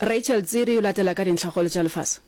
Rachel Tsiri o latela ka dintlhakgolo tša lefase.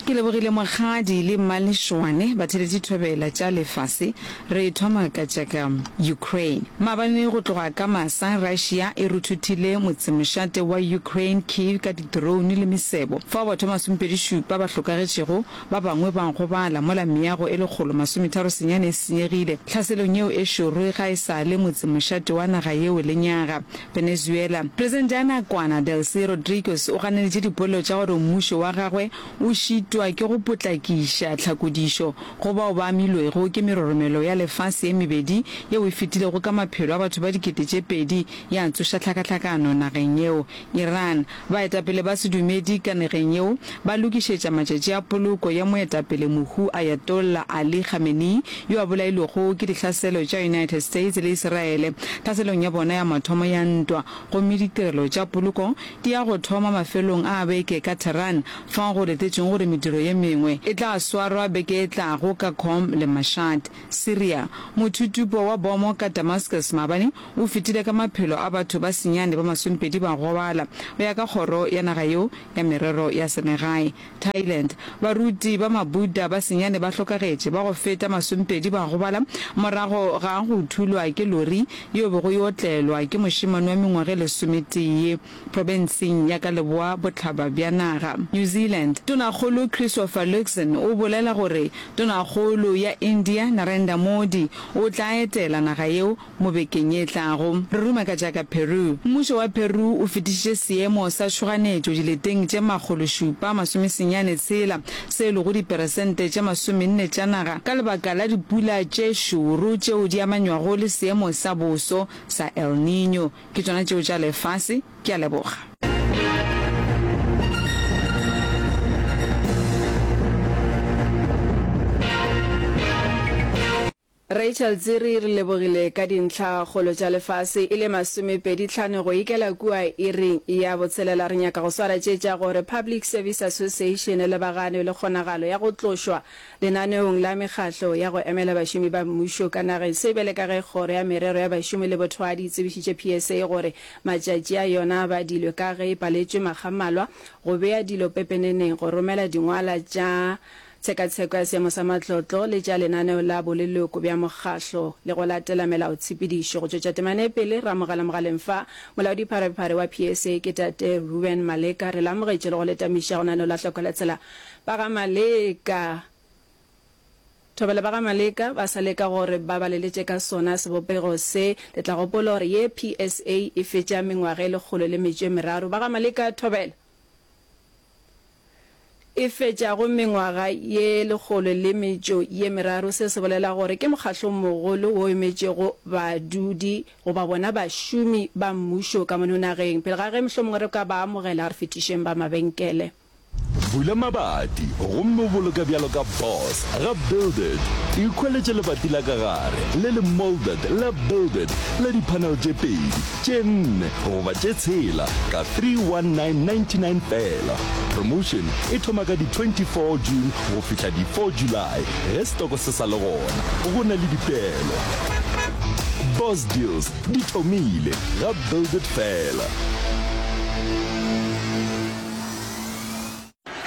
Ke lebogile Mokgadi le Mmalešwane batheletši thobela tša lefase. Re thoma ka tša ka Ukraine. Maabane go tloga ka masa Russia e ruthuthile motsemošate wa Ukraine Kyiv ka di-drone le mesebo fao batho ba masomepedišupa ba hlokagetšego Ba bangwe ba gobala mola meago e 139 e senyegile tlhaselong yeo e šoro ga e sa le motsemošate wa naga yeo lenyaga. Venezuela. Presidente ya nakwana Delcy Rodriguez o ganeditše dipolelo tša gore mmušo wa gagwe o šitwa ke go potlakiša tlhakodišo go bao ba amilwego ke meroromelo ya lefase ye mebedi yeo e fetilego ka maphelo a batho ba 2000 ya tsoša tlhakahlakano nageng yeo. Iran, Baetapele ba sedumedi ka nageng yeo ba lokišetša matšatši a poloko ya moetapele mohu Ayatollah Ali Khamenei yo a bolailwego ke dihlaselo tša United States le Isiraele tlhaselong ya bona ya mathomo ya ntwa gomme ditirelo tša poloko di ya go thoma mafelong a beke ka Tehran fao go letetšweng gore mediro ye mengwe e tla swarwa beke e tlago ka Qom le Mashhad. Syria, Mothutupo wa bomo ka Damascus maabane o fetile ka maphelo a batho ba senyane ba masompedi ba gobala, go ya ka kgoro ya naga yeo ya merero ya selegae. Thailand, Baruti ba ma-Buddha ba senyane ba hlokagetše, ba go feta masompedi ba gobala morago ga go thulwa ke lori yeo bego e otlelwa ke mošemane wa mengwaga e lesometee profenseng ya ka leboa bohlaba bja naga. New Zealand, Tonakgolo Christopher Luxon o bolela gore Tonakgolo ya India Narendra Modi o tla etela naga yeo Mo bekeng ye e tlago, re ruma ka tša ka Peru. Mmušo wa Peru o fetišitše seemo sa tšhoganetšo dileteng tše 796, se e lego diperesente tše 40 tša naga, ka lebaka la dipula tše šoro tšeo di amanywago le seemo sa boso sa El Niño. Ke tšona tšeo tša lefase. Ke a leboga. Rachel Tsiri re lebogile ka dintlha kgolo tša lefase e le masomepedi tlhano go ikela kua iring ya botshelela. Re nyaka go swara tše tša gore Public Service Association e lebagane le kgonagalo ya go tlošwa lenaneong la mekgahlo ya go emela bašomi ba mmušo ka nageng. Se bjale ka ge Kgoro ya Merero ya Bašomi le Bothwadi e tsebišitše PSA gore matšatši a yona a badilwe ka ge e paletšwe makga mmalwa go bea dilo pepeneneng go romela dingwala tša Tshekatsheko ya seemo sa matlotlo le tša lenaneo la boleloko bja mokgahlo le go latela melaotshepedišo. Go tšwetša temana e pele, re amogela mogaleng fa Molaodipharephare wa PSA ke Tate Reuben Maleka. Re le amogetše le go le tamiša go lenaneo la Hloko la Tsela. Ba ga Maleka, Thobela ba ga Maleka ba sa leka gore ba baleletše ka sona sebopego se. Le tla gopola gore ye PSA e fetša mengwaga e 103. Ba ga Maleka, Thobela. E fetšago mengwaga ye lekgolo le metšo ye meraro. Se se bolela gore ke mokgahlomogolo wo emetšego badudi goba bona bašomi ba mmušo ka mono nageng. Pele ga ge mohlomongwe re ka ba amogela, re fetišeng ba mabenkele. Bula mabati gomme o boloke bjalo ka boss ga Build It. Ikhweletše lebati la ka gare le le moulded la Build It la di-panel tše pedi, tše nne goba tše tshela ka 31999 feela. Promotion e thoma ka di 24 June go fihla di 4 July ge setoko se sa le gona. Go na le dipeelo. Boss Deals di thomile ga Build It feela.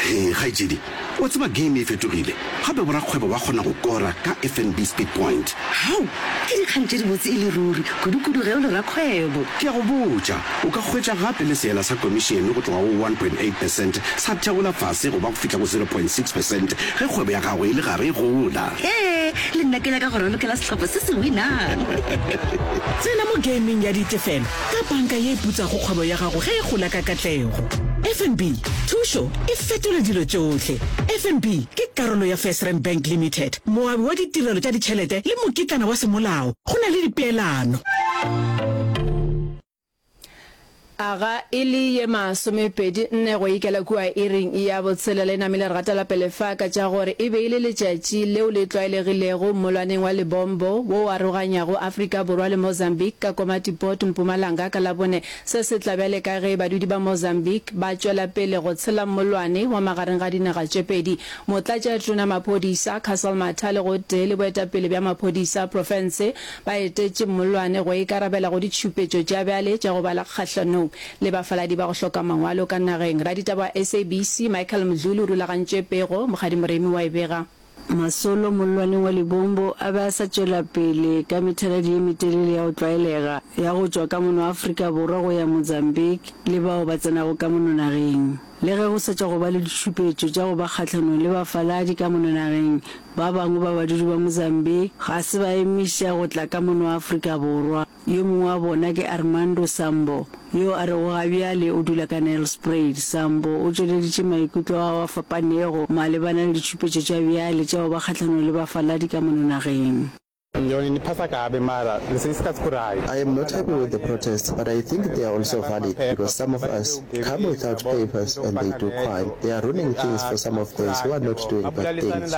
Hee kgaetšedi, wa tseba game e fetogile, gape borakgwebo ba kgona go kora ka FNB Speed Point. Hao! Ke dikgang tše dibotse e le ruri, kudu-kudu ge o le rakgwebo. Ke a go botša, o ka hwetša gape le seela sa komišene go tloga go 1.8 percent sa theola fase go ba go fihla go 0.6 percent ge kgwebo ya gago e le gare e gola. Hee, le nna ke nyaka go ralokela sehlopha se se winang. Tsena mo gameng ya ditefelo ka panka ye e putsago kgwebo ya gago ge e gola ka katlego. FNB, thušo e fetola dilo tšohle. FNB ke karolo ya FirstRand Bank Limited, moabi wa ditirelo tša ditšhelete le mokitlana wa semolao. Go na le dipeelano. Aga e le ye masomepedi nne go ikela kua iring ya botshelela e namile re gatela pele fa ka tša gore e be e le letšatši leo le tlwaelegilego mmolwaneng wa Lebombo wo o aroganyago Afrika Borwa le Mozambique ka Komatipoort, Mpumalanga ka Labone. Se se tla bjale ka ge badudi ba Mozambique ba tšwela pele go tshela mmolwane wa magareng ga dinaga tše pedi. Motlatšatona maphodisa Cassel Mathale gotee le boetapele bja maphodisa profense ba etetše mmollwane go ikarabela go ditšhupetšo tša bjale tša go bala kgahlanong le bafaladi ba go hloka mangwalo ka nageng. Raditaba wa SABC, Michael Mdluli o rulagantše pego, Mokgadi Moremi wa e bega. Masolo mollwaneng wa Lebombo a be a sa tšwela pele ka methaladi ye metelele ya go tlwaelega ya go tšwa ka mono Afrika Borwa go ya Mozambique le bao ba tsenago ka mono nageng. Le ge go sa tšwa go ba le ditšhupetšo tša go ba kgahlanong le bafaladi ka mono nageng, Ba bangwe ba badudi ba Mozambique ga se ba emiša go tla ka mono Afrika Borwa. Yo mongwe wa bona ke Armando Sambo, yo a rego ga bjale o dula ka Nelspruit. Sambo o tšweleditše maikutlo ao a fapanego malebana le ditšhupetšo tša bjale tša go ba kgahlanong le bafaladi ka mono nageng. I am not happy with the protests, but I think they are also valid because some of us come without papers and they do crime. They are ruining things for some of those who are not doing bad things.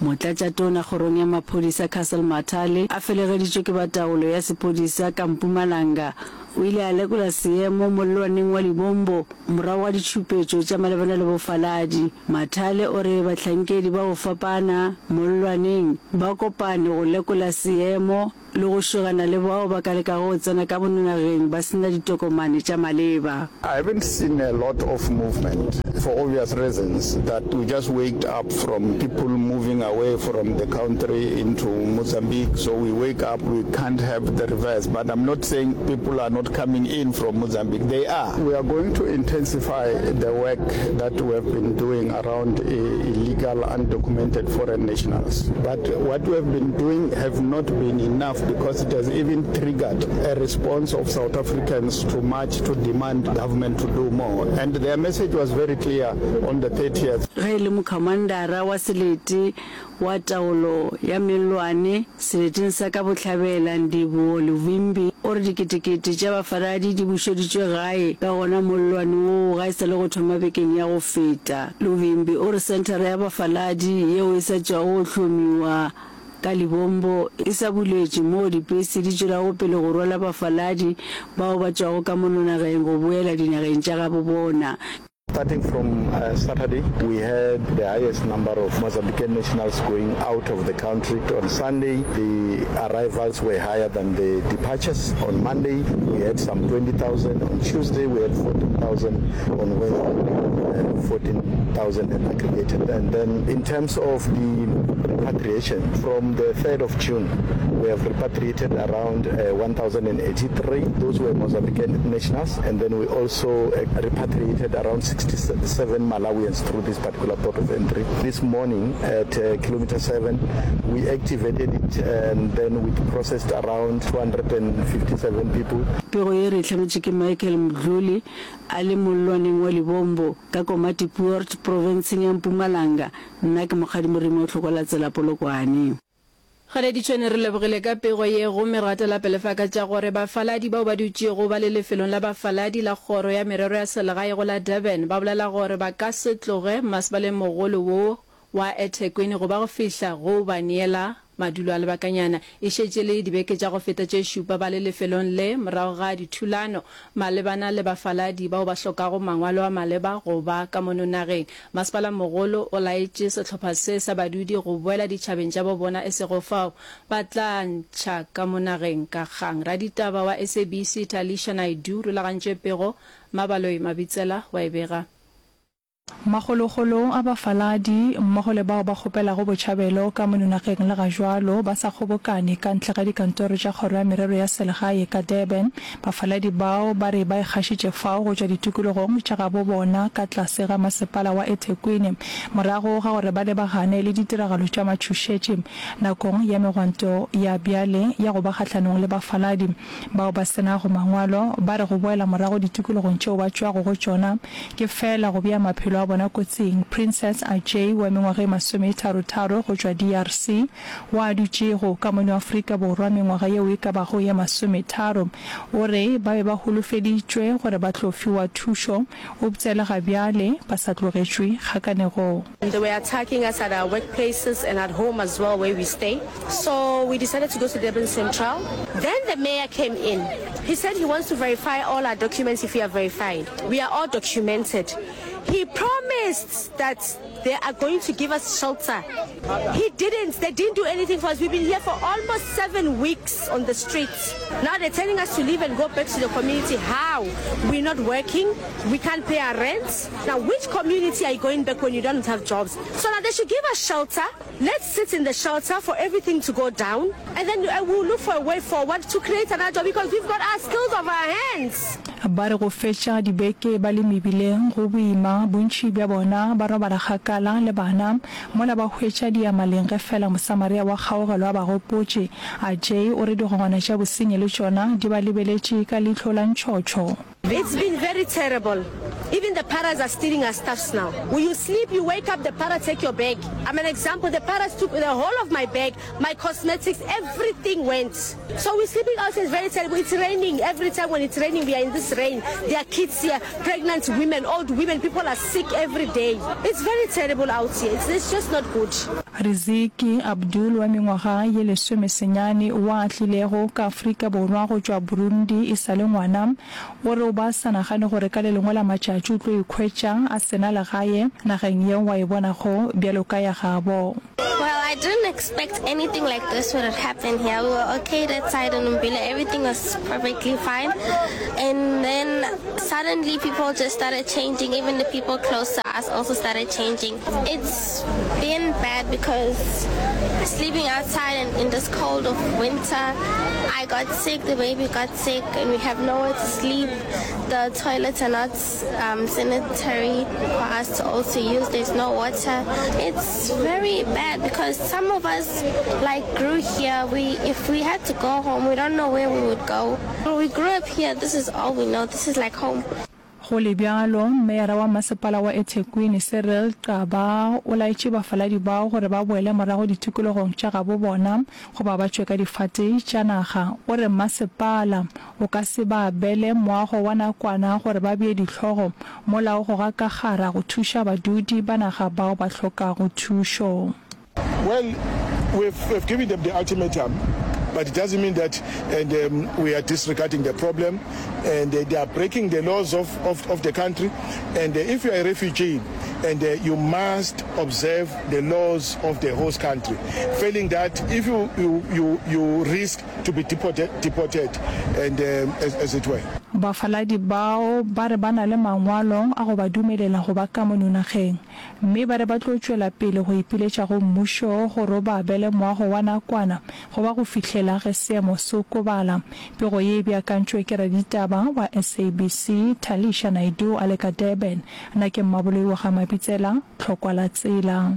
Motlatšatona kgorong ya maphodisa Cassel Mathale a felegeditšwe ke ba taolo ya sephodisa ka Mpumalanga o ile a lekola seemo mollwaneng wa Libombo morago ga ditšhupetšo tša malebana le bofaladi. Mathale o re bahlankedi ba go fapana mollwaneng ba kopane go lekola seemo le go šogana le bao ba ka lekago go tsena ka mono nageng ba se na ditokomane tša maleba. I haven't seen a lot of movement for obvious reasons that we just waked up from people moving away from the country into Mozambique so we wake up we can't have the reverse but I'm not saying people are not coming in from Mozambique they are. We are going to intensify the work that we have been doing around illegal undocumented foreign nationals but what we have been doing have not been enough because it has even triggered a response of South Africans to march to demand government to do more and their message was very clear on the 30th. Ge e le mokhamandara wa selete wa taolo ya mellwane seleteng sa ka bohlabela, Ndivhuwo Luvhimbi, o re diketekete tša bafaladi di bušeditšwe gae ka gona mollwane woo ga e sa le go thoma bekeng ya go feta. Luvhimbi o re senthara ya bafaladi yeo e sa tšwago go hlomiwa ka Lebombo e sa buletšwe moo dipese di tšwelago pele go rwala bafaladi bao ba tšwago ka mono nageng go boela dinageng tša gabo bona. Starting from Saturday, we had the highest number of Mozambican nationals going out of the country. On Sunday, the arrivals were higher than the departures. On Monday, we had some 20,000. On Tuesday, we had 14,000. On Wednesday, we had 14,000 aggregated. And then in terms of the repatriation, from the 3rd of June, we have repatriated around 1,083. Those were Mozambican nationals. And then we also repatriated around 67 Malawians through this particular port of entry. This morning at uh, kilometer 7, we activated it and then we processed around 257 people. Pego ye re e hlametše ke Michael Mdluli a le mollwaneng wa Lebombo ka Komatipoort profenseng ya Mpumalanga. Nna ke Mokgadi Moremi wa Tlhoko la Tsela Polokwane. Kgaleditšhwene re lebogile ka pego ye gomme re gatela pele fa ka tša gore bafaladi bao ba dutšego ba le lefelong la bafaladi la Kgoro ya Merero ya Selegae go la Durban ba bolela gore ba ka se tloge mmasepaleng mogolo wo wa eThekwini go ba go fihla go ba neela madulo a lebakanyana. E šetše le dibeke tša go feta tše šupa ba le lefelong le morago ga dithulano malebana le bafaladi bao ba hlokago mangwalo a maleba go ba ka mono nageng. Masepala-mogolo o laetše sehlopha se sa badudi go boela ditšhabeng tša bo bona e sego fao ba tla ntšha ka mo nageng ka kgang. Raditaba wa SABC Talisha Naidoo rulagantše pego, Mabaloi Mabitsela wa e bega. Makgolokgolo a bafaladi mmogo le bao ba kgopelago botšhabelo ka mono nageng le ga jwalo ba sa kgobokane ka ntle ga dikantoro tša Kgoro ya Merero ya Selegae ka Durban Bafaladi bao ba re ba ikgašitše fao go tšwa ditikologong tša gabo bona ka tlase ga masepala wa eThekwini morago ga gore ba lebagane le ditiragalo tša matšhošetši nakong ya megwanto ya bjale ya go ba kgahlanong le bafaladi bao ba se nago mangwalo. Ba re go boela morago ditikologong tšeo ba tšwago go tšona ke feela go bea maphelo. maphelo a bona kotsing. Princess Ajay wa mengwaga e masometharo-tharo go tšwa DRC, wa a dutšego ka mono Afrika Borwa mengwaga yeo e ka bago ye masometharo, o re ba be ba holofeditšwe gore ba tlo fiwa thušo, eupša le ga bjale ba sa tlogetšwe kgakanegong. They were attacking us at our workplaces and at home as well where we stay. So we decided to go to Durban Central. Then the mayor came in. He said he wants to verify all our documents if we are verified. We are all documented. He promised that they are going to give us shelter. He didn't. They didn't do anything for us. We've been here for almost seven weeks on the streets. Now they're telling us to leave and go back to the community. How? We're not working. We can't pay our rent. Now, which community are you going back when you don't have jobs? So now they should give us shelter. Let's sit in the shelter for everything to go down and then uh, we'll look for a way forward to create another job because we've got our skills of our hands. Ba re go fetša dibeke ba le mebileng go boima, bontši bja bona ba robala kgakala le bana mola ba hwetša diyamaleng ge fela Mosamaria wa kgaogelo a ba gopotše. Ajay o re digongwana tša bosenyi le tšona di ba lebeletše ka leihlo la ntšhotšho. It's been very terrible even the paras are stealing our stuffs now you sleep you wake up the para take your bag I'm an example the paras took the whole of my bag my cosmetics everything went so we sleeping out is very terrible it's raining every time when it's raining we are in this rain there are kids here pregnant women old women people are sick every day it's very terrible out here it's, it's just not good. Riziki Abdul wa mengwaga ye lesomesenyane wa a tlilego ka Afrika Borwa go tšwa Burundi e sa le ngwana, O re o ba sa nagane gore ka le lengwe la matšatši o tlo ikhwetša a se na legae nageng yeo a e bonago bjalo ka ya gabo. Well, I didn't expect anything like this would happen here. We were okay that side in Umbilo, everything was perfectly fine. And then suddenly people just started changing, even the people close to us also started changing. It's been bad because sleeping outside and in this cold of winter, I got sick, the baby got sick, and we have nowhere to sleep. The toilets are not um, sanitary for us to also use. There's no water. It's very bad because some of us like grew here. We if we had to go home, we don't know where we would go. We grew up here. This is all we know. This is like home. Go le bjalo, Meyara wa Masepala wa eThekwini, Cyril Xaba, o laetše bafaladi bao gore ba boele morago ditikologong tša gabo bona goba ba tšwe ka difate tša naga. O re masepala o ka se ba abele moago wa nakwana gore ba bee dihlogo mola o goga ka kgara go thuša badudi ba naga bao ba hlokago thušo. Well, we've, we've given them the ultimatum, but it doesn't mean that and, um, we are disregarding the problem and uh, they are breaking the laws of, of, of the country. And uh, if you are a refugee, and uh, you must observe the laws of the host country. Failing that, if you, you, you, you risk to be deported, deported and um, as, as it were. Bafaladi bao ba re ba na le mangwalo a go ba dumelela go ba ka mono nageng. Mme ba re ba tlo tšwela pele go ipiletša go mmušo gore o ba abele moago wa nakwana go ba go fihlela ge seemo se okobala. Pego ye e beakantšwe ke raditaba wa SABC, Talisha Naidoo a le ka Durban. Nna ke Mmaboloi wa ga Mabitsela, Tlhokwa la Tsela.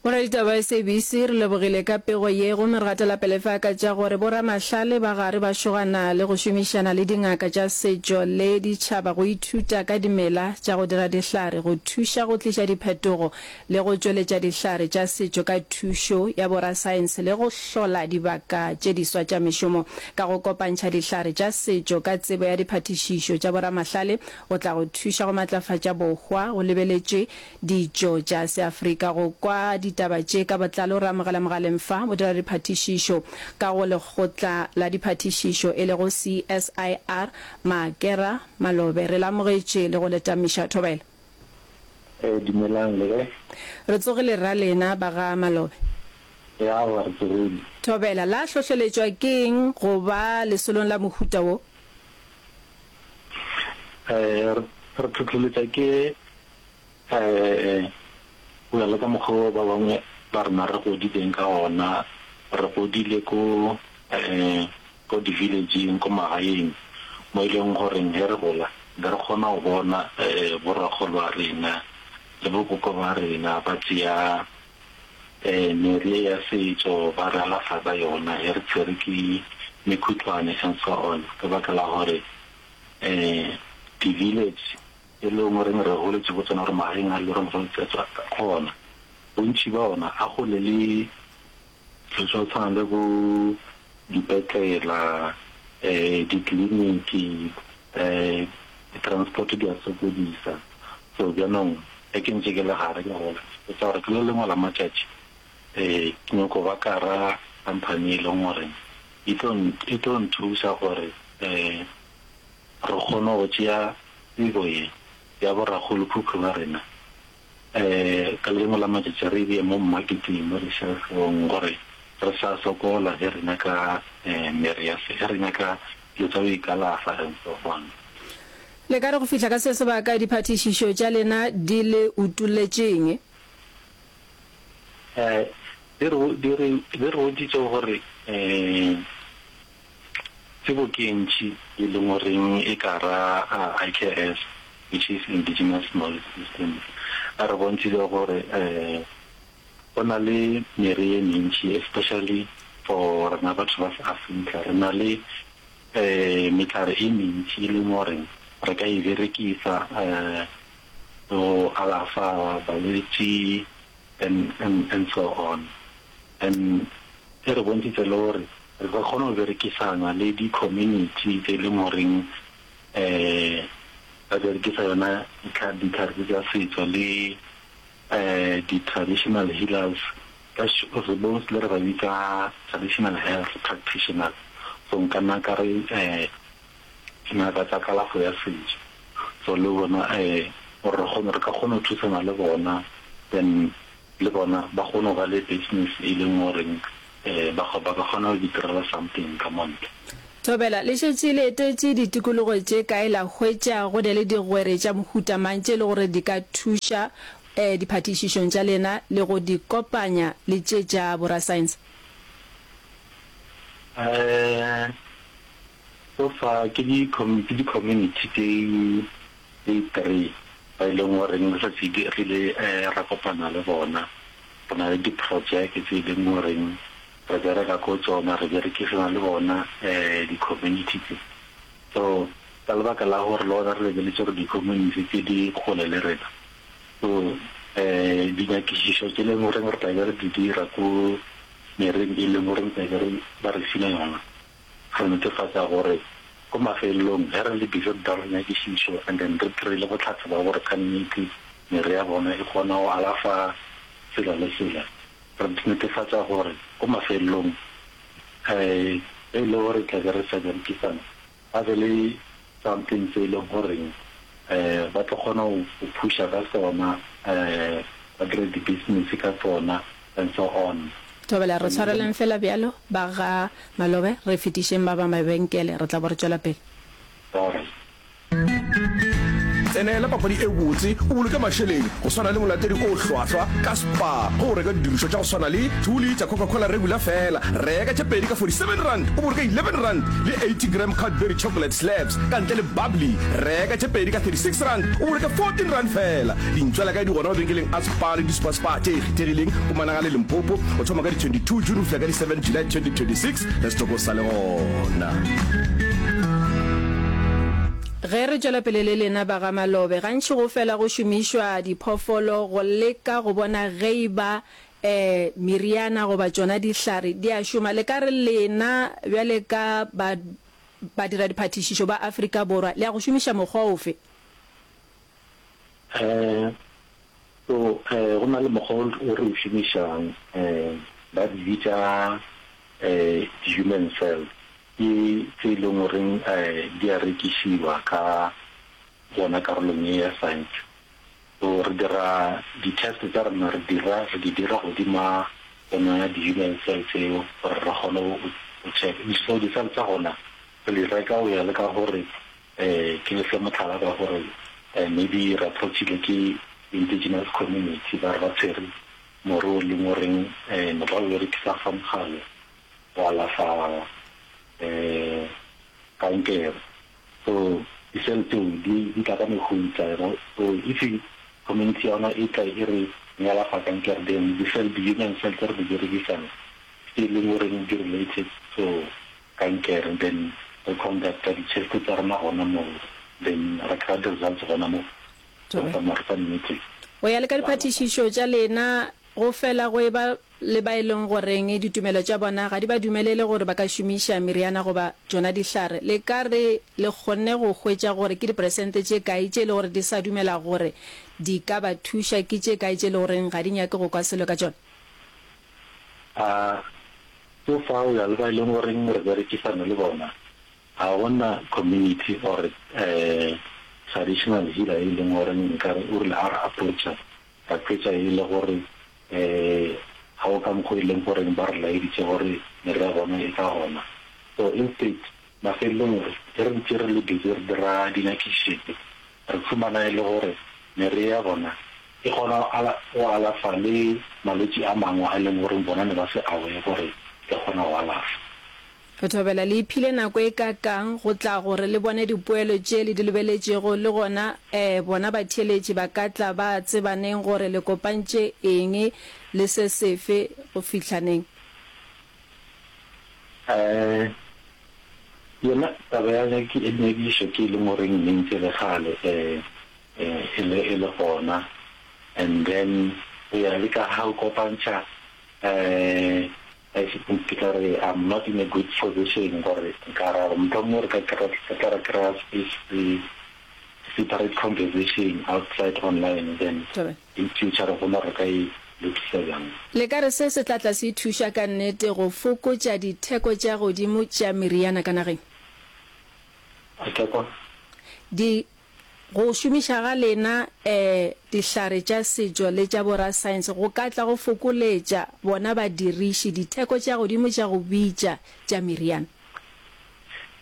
Boraditaba SABC re lebogile ka pego ye gomme re gatela pele fa ka tša gore boramahlale ba gare ba šogana le go šomišana le dingaka tša setšo le ditšhaba go ithuta ka dimela tša go dira dihlare go thuša go tliša diphetogo le go tšweletša dihlare tša setšo ka thušo ya borasaense le go hlola dibaka tše diswa tša mešomo ka go kopantšha dihlare tša setšo ka tsebo ya diphatišišo tša boramahlale go tla go thuša go matlafatša bohwa go lebeletšwe Ditšo tša Seafrika. Go kwa ditaba tše ka botlalo re amogela mogaleng fa modiradiphatišišo ka go Lekgotla la Diphatišišo e lego CSIR, Makera Malobe. Re le amogetše le go le tamiša. Thobela. Ee, dumelang, le kae? Re tsogile rra lena ba ga Malobe. Ee, aowa re tsogile. Thobela, la hlohleletšwa ke eng go ba lesolong la mohuta wo? Ee, re hlohleletšwa ke Go ya le ka mokgwa wo ba bangwe ba rena re godileng ka gona, re godile ko ko di-village-ing, ko magaeng mo e leng goreng ge re gola be re kgona go bona bo rakgolo ba rena le bo koko ba rena ba tšea mere ye ya setšo ba re alafa ka yona ge re tshwere ke mekhutlwane and so on, ka baka la gore di-village. e leng goreng re goletše go tsona gore magaeng a le goreng re tswa gona, bontši ba ona a gole le dilo tša go tshwana le bo dipetlela, ditleliniki, di-transport di a sokodisa. So bjanong ge ke ntše ke le gare ke gola, ke ipotša gore ke le lengwe la matšatši ke nyoko ba ka ra company e leng gore e tlo e tlo nthuša gore re kgone go tšea tsebo ye ya borakgolokhukhu ba rena Ka le lengwe la matšatši re e bee mo mmaketeng, mo di-shelf-ong, gore re sa sokola ge re nyaka mere ya se, ge re nyaka dilo tša go ikalafa and so on. Le ka re go fihla ka se sebaka diphatišišo tša lena di le utolletše'ng? Di re, di re, di re bontšitše gore Tsebo ke e ntši e leng goreng e ka ra IKS, which is Indigenous Knowledge Systems. A re bontšhitše gore go na le mere ye mentši especially for rena batho ba se-Afrika, re na le mehlare e mentši e leng gore re ka e berekisa go alafa balwetši and and and so on. And e re bontšhitše le gore re ka kgona go berekisana le di-community tse e leng goreng ba berekisa yona ditlhare tse tsa setso le di-traditional healers, ka re mostly re ba bitsa traditional health practitioners. So nka nna ka re dingaka tsa kalafo ya setso. So le bona gore re kgone re ka kgona go thusana le bona then le bona ba kgone go ba le business e leng goreng ba ba ka kgona go itirela something ka mo ntle. Thobela, Le šetše le etetše ditikologo tše kae la hwetša go ne le digwere tša mohuta mang tše e le gore di ka thuša diphatišišong tša lena le go di kopanya le tše tša borasaense? So far ke di ke di community tse tse three ba e leng goreng re šetše re ile ra kopana le bona. Re na le di projeke tse e leng goreng re bereka ko tsona, re berekisana le bona di community tse. So ka lebaka la gore le gona re lebeletše gore di community tse di kgole le rena, so dinyakišišo tse e leng goreng re tla be re di dira ko mereng e leng goreng tla be re ba re file yona, Re netefatša gore ko mafelelong ge re le busy re dira dinyakišišo and then re kry-ile bohlatse ba gore ka nnete mere ya bona e kgona go alafa sela le sela, re netefatša gore ko mafelelong ge e le gore tla be re sa berekisana ba be le something se e leng goreng ba tlo kgona go phusha ka sona, ba dire di-business ka sona and so on. Thobela, re tshwareleng feela bjalo, ba ga Malobe, re fetišeng ba ba mabenkele, re tla bo re tšwela pele. Alright. Tsenela papadi e botse o boloke mašeleng go swana le molatedi o hlwahlwa ka Spar ge o reka didirišwa tša go swana le 2 litre Coca-Cola regular feela reka tše pedi ka R47 o boloke R11 le 80 gram Cadbury chocolate slabs ka ntle le bubbly reka tše pedi ka R36 o boloke R14 feela. Dintšwela kae di gona mabenkeleng a Spar le di-Super Spar tše kgethegileng Mpumalanga le Limpopo go thoma ka di 22 June go fihla ka di 7 July 2026 ge setoko se sa le gona. Ge re tšwela pele le lena ba ga Malobe, gantši go fela go šomišwa diphoofolo go leka go bona ge e ba meriana goba tšona dihlare di a šoma. Le ka re lena bjale ka ba badiradiphatišišo ba Afrika Borwa le ya go šomiša mokgwa ofe? So go na le mokgwa o re o šomišang, ba di bitša di-human cells. Ke tse e leng goreng di a rekišiwa ka gona karolong ye ya science. So re dira di-test tsa rena re dira re di dira godima tsona di-human cell tseo gore re kgone go check. So di-cell tsa gona re di reka go ya le ka gore ke le fe mohlala ka gore maybe re approach-ile ke indigenous community ba re ba tshwere more o leng goreng ne ba o berekisa fa mogale go alafa kankere. So di-cell tseo di di tla ka mehuta, you know. So if community ya rona e tla e re e alafa kankere then di-cell di-human cell tse re di berekisang tse e leng goreng di related to kankere then re conducta di-test tsa rena gona moo then re kry-a di-results gona moo. Thobela. Mare ka nnete. Go ya le ka diphatišišo tša lena, go fela go eba le ba e leng goreng ditumelo tša bona ga di ba dumelele gore ba ka šomiša meriana goba tšona dihlare. Le ka re le kgonne go hwetša gore ke diperesente tše kae tše e le gore di sa dumela gore di ka ba thuša, ke tše kae tše e le goreng ga di nyake go kwa selo ka tšona? A So far go ya le ba e leng goreng re berekisana le bona, ga go na community or traditional healer e leng goreng nkare o rile ga re approacha ra hwetša e le gore ga go ka mokgo e leng goreng ba re laeditše gore mere ya bona e ka gona. So instead mafelelong ge re ntše re le busy re dira dinyakišišo re fumana e le gore mere ya bona e kgona go alafa le malwetši a mangwe a e leng gore bona ne ba se aware gore e kgona go alafa. Re thobela le iphile nako e kakang go tla gore le bone dipoelo tše le di lebeletšego, le gona eh bona batheeletši ba ka tla ba tseba neng gore le kopantše eng le se sefe go fihla neng. Eh yona taba ya nyakišo ke e leng goreng ne ntse le kgale eh e le e le gona and then go ya le ka ga o kopantšha eh Ke tla re I'm not in a good position gore nka ra gore mohlomongwe re ka kry-a re tla ra kry-a space se separate conversation outside online then in future re bona re ka e lokisa bjang. Le ka re se se tla tla se thuša ka nnete go fokotša ditheko tša godimo tša meriana ka nageng? A ke a kwa. Di Go šomiša ga lena dihlare tša setšo le tša borasaense go ka tla go fokoletša bona badiriši ditheko tša godimo tša go bitša tša meriana.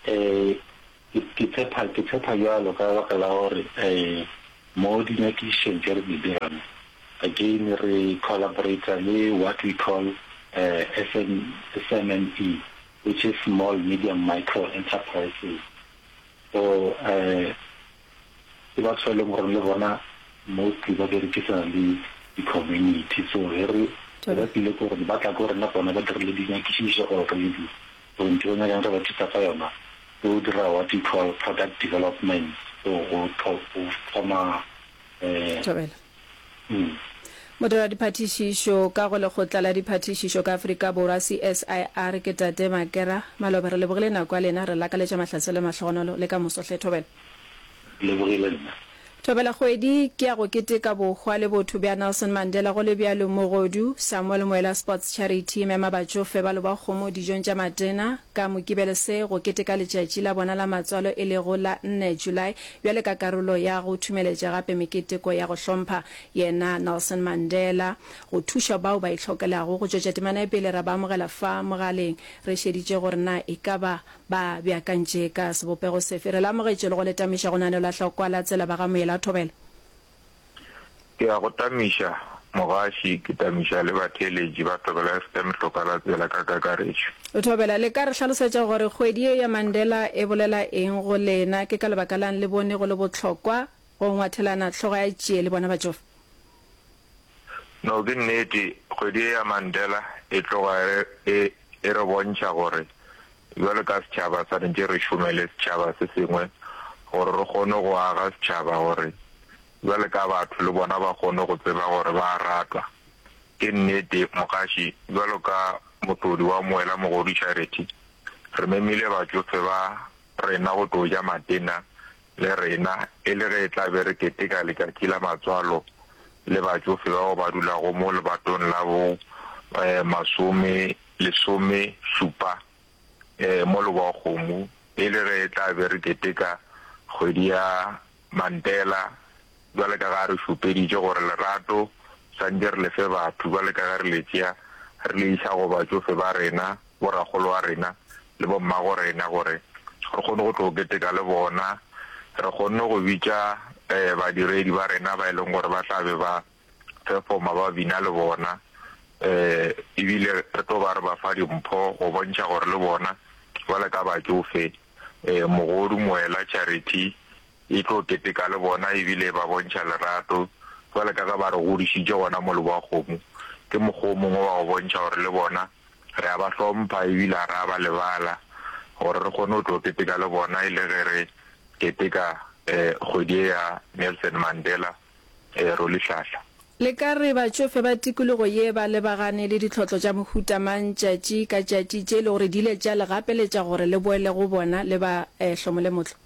Ee, ke tshepa, ke tshepa bjalo ka baka la gore mo dinyakišišong tše re di dirang, again re collaborate-a le what we call SM, SMME, which is small medium micro enterprises. So ke batho ba e leng gore le bona mostly ba berekisana le di-community. So ge re ge ba tlile ko rena, ba tla ko rena bona ba dirile dinyakišišo already. So ntho e ba nyakang re ba thusa ka yona ke go dira what we call product development. So go thoma Thobela. Modiradiphatišišo ka go Lekgotla la Diphatišišo ka Afrika Borwa, CSIR, ke Tate Makera Maloba. Re lebogile nako ya lena, re lakaletša mahlatse le mahlogonolo le ka moso hle. Thobela. Ke lebogile nna. Thobela Kgwedi ke ya go keteka bohwa le botho bja Nelson Mandela go le bjalo Mogodu Samuel Moela Sports Charity e mema batšofe ba Lobakgomo dijong tša matena ka Mokibelo se go keteka letšatši la bona la matswalo e lego la nne July bjale ka karolo ya go thumeletša gape meketeko ya go hlompha yena Nelson Mandela go thuša bao ba itlhokelago. Go tšwetša temana ye pele ra ba amogela fa mogaleng re šeditše gore na e ka ba ba beakantše ka sebopego sefe. Re le amogetše le go le tamiša go naneo la Hlokwa la Tsela ba ga Moela Thobela. Ke a go tamiša mogaši, ke tamiša le batheeletši ba Thobela FM Hloka la Tsela ka kakaretšo. Thobela, le ka re hlalosetša gore kgwedi ye ya Mandela e bolela eng go lena? Ke ka lebaka la'ng le bone go le bohlokwa go ngwathelana hlogo ya tšie le bona batšofe? No, ke nnete, kgwedi ye ya Mandela e tloga e e re bontšha gore bjalo ka setšhaba swanetše re šome le setšhaba se sengwe gore re kgone go aga setšhaba gore bjalo ka batho le bona ba kgone go tseba gore ba a ratwa. Ke nnete, mogaši, bjalo ka mohlodi wa Moela Mogodu Charity, re memile batšofe ba rena go tlo ja matena le rena e le ge e tla be re keteka letšatši la matswalo le batšofe bao ba dulago mo lebatong la bo masome lesome šupa mo Leboakgomo e le ge e tla be re keteka kgwedi ya Mandela bjale ka ge a re šupeditše gore lerato swantše re le fe batho bjale ka ge re le tšea re le iša go batšofe ba rena, borakgolo wa rena le bommago rena gore re kgone go tlo keteka le bona. Re kgonne go bitša badiredi ba rena ba e leng gore ba tla be ba performa ba bina le bona ebile re tlo ba re ba fa dimpho go bontšha gore le bona bjale ka batšofe Mogodu Moela Charity e tlo keteka le bona ebile e ba bontšha lerato bjale ka ge ba re godišitše gona mo Leboakgomo. Ke mokgwa o mongwe wa go bontšha gore le bona re a ba hlompha ebile ga ra ba lebala gore re kgone go tlo keteka le bona e le ge re keteka kgwedi ye ya Nelson Mandela. Rolihlahla. Le ka re batšofe ba tikologo ye ba lebagane le ditlhotlo tša mohuta mang tšatši ka tšatši tše e le gore di ile tša le gapeletša gore le boele go bona le ba hlomole motlo?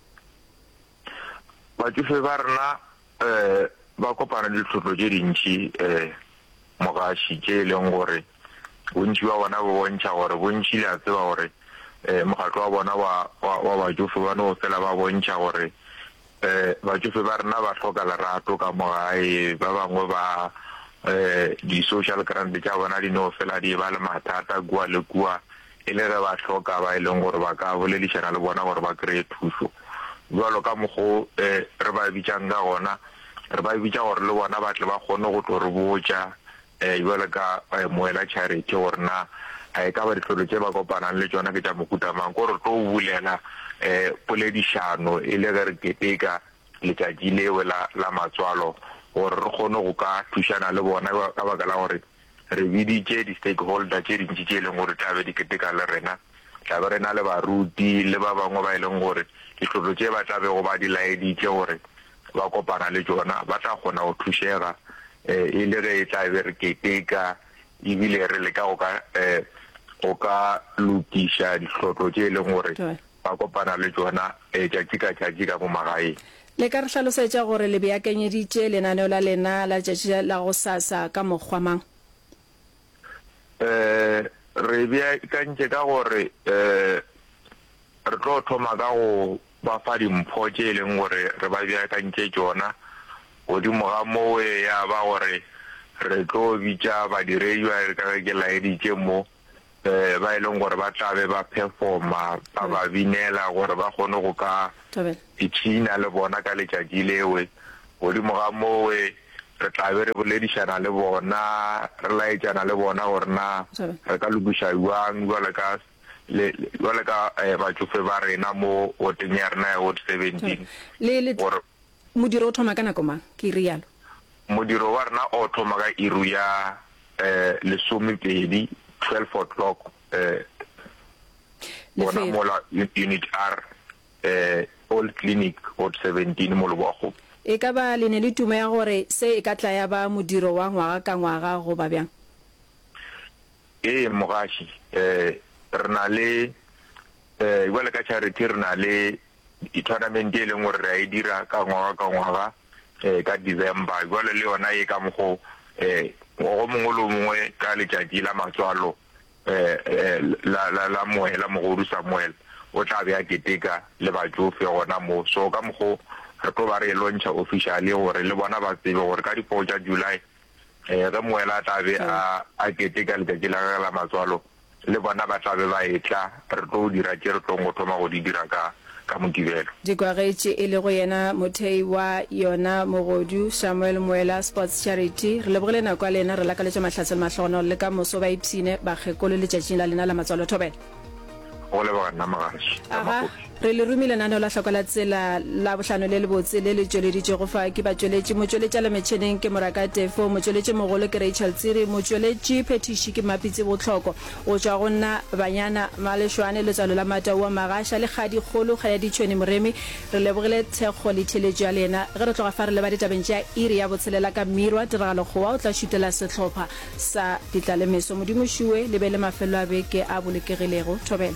Batšofe ba rena ba kopana le ditlhotlo tše dintši mogaši tše e leng gore bontši bja bona bo bontšha gore bontši le a tseba gore mokgatlo wa bona wa wa batšofe ba no fela ba bontšha gore batšofe ba rena ba hloka lerato ka mo gae ba bangwe ba di-social grant tša bona di no fela di ba le mathata kua le kua e le ge ba hloka ba e leng gore ba ka boledišana le bona gore ba kry-e thušo. Bjalo ka mokgo re ba bitšang ka gona, re ba bitša gore le bona ba tle ba kgone go tlo re botša bjalo ka Moela Charity gore na e ka ba ditlhotlo tše ba kopanang le tšona ke tša mohuta mang. Ko re tlo bulela poledišano e le ge re keteka letšatši leo la la matswalo gore re kgone go ka thušana le bona ka baka la gore Re biditše di-stakeholder tše dintši tše e leng gore tla be di keteka le rena. Tla be re na le baruti le ba bangwe ba e leng gore ditlotlo tše ba tla bego ba di laeditše gore ba kopana le tšona ba tla kgona go thušega e le ge e tla be re keteka ebile re leka go ka go ka lokiša ditlotlo tše e leng gore ba kopana le tšona tšatši ka tšatši ka mo magaeng. Le ka re hlalosetša gore le beakanyeditše lenaneo la lena la letšatši la gosasa ka mokgwa mang? Re beakantše ka gore re tlo thoma ka go ba fa dimpho tše e leng gore re ba beakantše tšona. Godimo ga moo ya ba gore re tlo bitša badiredi ba ka ge ke laeditše mo ba e leng gore ba tla be ba performa, ba ba binela gore ba kgone go ka ipshina le bona ka letšatši lewe. Godimo ga mowe re tla be re boledišana le bona, re laetšana le bona gore na re ka lokiša bjang bjalo ka bjalo ka batšofe ba rena mo woteng ya rena ya Ward 17 gore Modiro o thoma ka nako mang? Ke realo. Modiro wa rena o thoma ka iru ya lesomepedi, 12 o'clock, gona mola Unit R, Old Clinic, Ward 17 mo Leboakgopo. E ka ba le ne le tumo ya gore se e ka tla ya ba modiro wa ngwaga ka ngwaga goba bjang? Ee, mogaši, re na le, bjale ka charity re na le tournament e leng gore re a e dira ka ngwaga ka ngwaga ka December. Jwale le yona e ka mokgo ngwaga o mongwe le o mongwe ka letšatši la matswalo la la la Moela Mogodu Samuel o tla be a keteka le batšofe gona mo. So ka mokgo re tlo ba re e launcha officially gore le bona ba tsebe gore ka di four tša July Ge Moela a tla be a a keteka letšatši la gagwe la matswalo, le bona ba tla be ba etla, re tlo dira tše re tlong go thoma go di dira ka ka Mokibelo. Dikwagetše e lego yena mothei wa yona Mogodu Samuel Moela Sports Charity. Re lebogile nako ya lena, re lakaletša mahlatse le mahlogonolo le ka moso ba ipshine bakgekolo letšatšing la lena la matswalo. Thobela. Go leboga nna Mogaši Aga, Ramakopi. re le romile lenaneo la Hloko la Tsela la bohlano le lebotse le le tšweleditšwego fa ke batšweletši. Motšweletšalemetšheneng ke Moraka Tefo, motšweletši mogolo ke Rachel Tsiri, motšweletši phethiši ke Mmapitsi Botlhoko. Go tšwa go nna Banyana Malešwane, Letswalo la Mataua Magasha le Kgadi Kgolo Kgayaditšhweni Moremi, re lebogile thekgo le theeletšo ya lena. Ge re tloga fa re leba ditabeng tša iri ya botshelela ka Mirwa, Tiragalo Kgowa o tla šutela sehlopha sa Ditlalemeso. Modimo šuwe le be le mafelelo a beke a bolokegilego. Thobela.